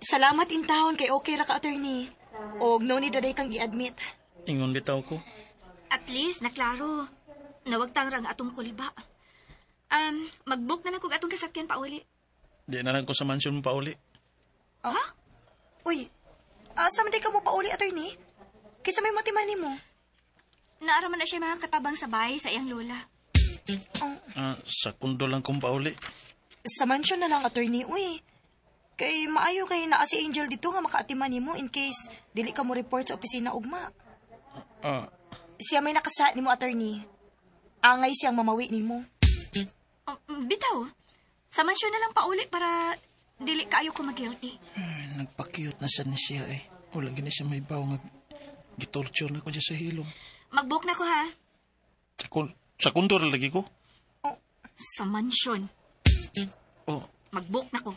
Salamat in town kay okay ra ka, attorney. Og no need na kang i-admit. Ingon bitaw ko. At least, naklaro. Nawagtang rang atong kulba. Mag-book na lang kog atong kasakyan pauli. Di na lang ko sa mansion mo pauli. Ha? Uy, asa man day ka mo pauli, attorney? Kaysa may matiman nimo. Naara man na siya mga katabang sa bahay sa iyang lola. Oh, Ah, sa kundo lang kong pauli. Sa mansion na lang, attorney. Uy, kay maayo kay naa si Angel dito nga makaatiman nimo in case dili ka mo report sa opisina ugma. Ah, Siya may nakasa nimo, attorney. Angay siyang mamawi nimo. Oh, bitaw. Sa mansyon na lang pauli para dili kaayo ko mag-guilty. Ay, nagpa-cute na siya ni siya eh. Wala gini siya may baw nga gitorture na ko siya sa hilom. Mag-book na ko ha. Sa kundo ra lagi ko. Sa mansyon. Oh, Mag-book na ko.